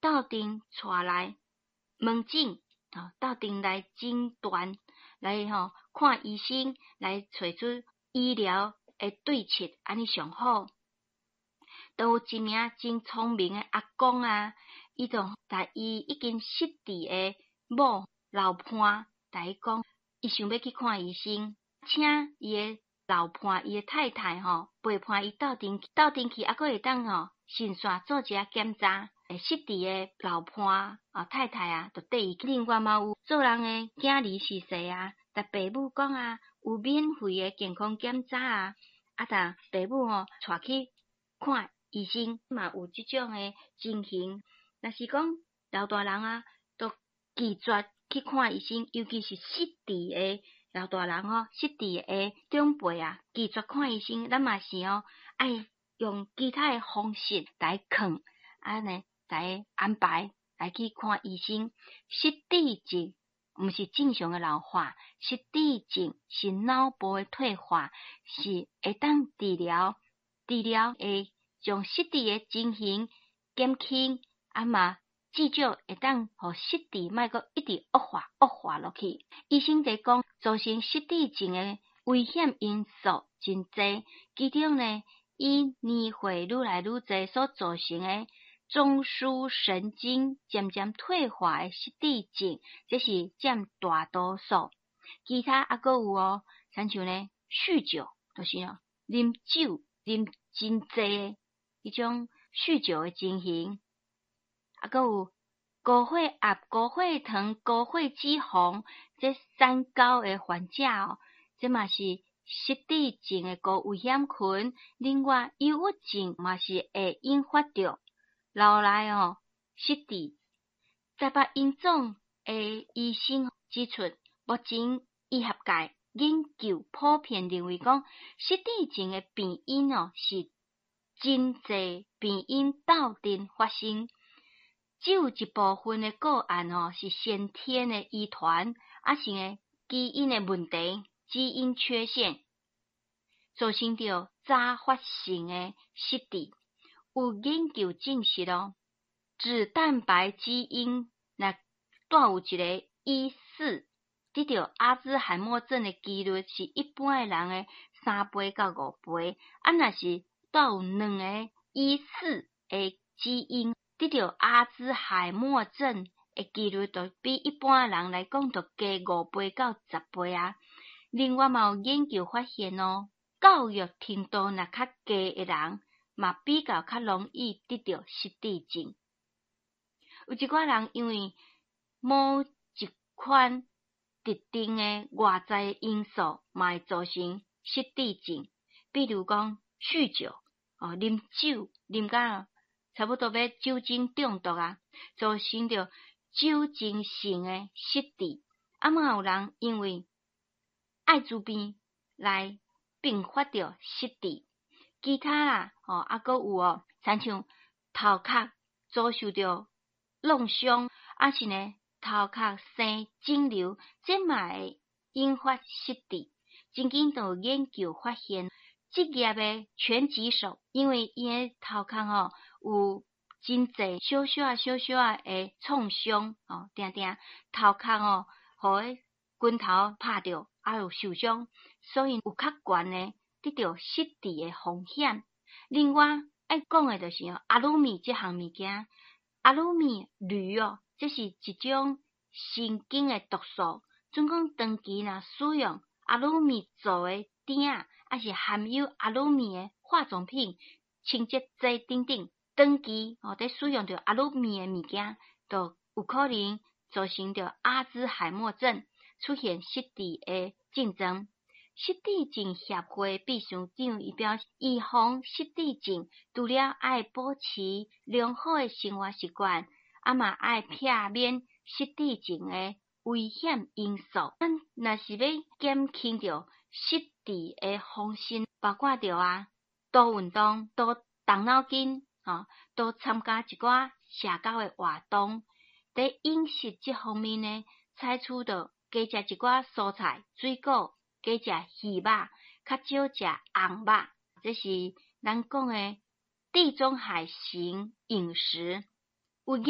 鬥陣帶來門診，吼，鬥陣來診斷，來吼看醫生，來揣出醫療的對策，按呢上好。都有一名真聰明的阿公啊，伊就共伊已經失智的某老伴，共伊講，伊想欲去看醫生，請伊的老伴，伊的太太吼陪伴伊鬥陣鬥陣去，猶閣會當吼順紲做一下檢查。失智的老伴啊太太啊，就綴伊。另外嘛有做人的囝兒婿婿啊，共爸母講啊，有免費的健康檢查啊，啊，共爸母吼帶去看醫生嘛有這種的情形。若是講老大人啊，都拒絕去看醫生，尤其是失智的老大人吼，失智的長輩啊，拒絕看醫生，咱嘛是吼愛用其他的方式來勸，按呢來安排來去看醫生。失智症毋是正常的老化，失智症是腦部的退化，是會當治療，治療會將失智的情形減輕，啊嘛至少會當予失智莫閣一直惡化惡化落去。醫生佇講，造成失智症的危險因素真濟，其中呢，以年歲愈來愈濟所造成的中樞神經漸漸退化的失智症，這是佔大多數。其他猶閣有哦，親像呢，酗酒，就是哦，啉酒啉真濟的彼種酗酒的情形，猶閣有高血壓、高血糖、高血脂肪這三高的患者哦，這嘛是失智症的高危險群。另外，憂鬱症嘛是會引發著腦內哦失智。台北榮總的醫生指出，目前醫學界研究普遍認為講，失智症的病因哦是真濟病因鬥陣發生，只有一部分的個案哦是先天的遺傳，抑是呢基因的問題、基因缺陷，造成著早發性的失智。有研究證實哦，脂蛋白基因若帶有一个 E4，得著阿茲海默症的幾率是一般的人的3倍到5倍。啊，若是帶有兩个 E4的基因，得著阿茲海默症的幾率就比一般的人來講，就加5倍到10倍啊。另外嘛有研究發現哦，教育程度若較低的人，嘛比較較容易得著失智症。有一寡人因為某一款特定的外在因素，嘛會造成失智症。比如講酗酒，哦，啉酒啉甲差不多欲酒精中毒啊，造成著酒精性的失智。啊，嘛有人因為愛滋病來併發著失智。其他啦，吼，猶閣有哦，親像頭殼遭受著弄傷，抑是呢頭殼生腫瘤，這嘛會引發失智。曾經就有研究發現，職業的拳擊手，因為𪜶的頭殼吼有真濟小小仔、小小仔的創傷，吼，定定頭殼吼，予彼拳頭拍著，啊有受傷，所以有較懸的得著失智的風險。另外愛講的就是哦，阿魯米這項物件，阿魯米鋁哦，這是一種神經的毒素。準講長期若使用阿魯米做的鼎仔，抑是含有阿魯米的化妝品、清潔劑等等，長期哦佇使用著阿魯米的物件，就有可能造成著阿茲海默症，出現失智的症狀。失智症協會秘書長伊表示，預防失智症，除了愛保持良好的生活習慣，啊嘛愛避免失智症的危險因素。咱若是欲減輕著失智的風險，包括著啊，多運動、多動腦筋，吼，多參加一寡社交的活動。佇飲食這方面呢，採取著加食一寡蔬菜、水果。加食魚肉，較少食紅肉，這是咱講的地中海型飲食。有研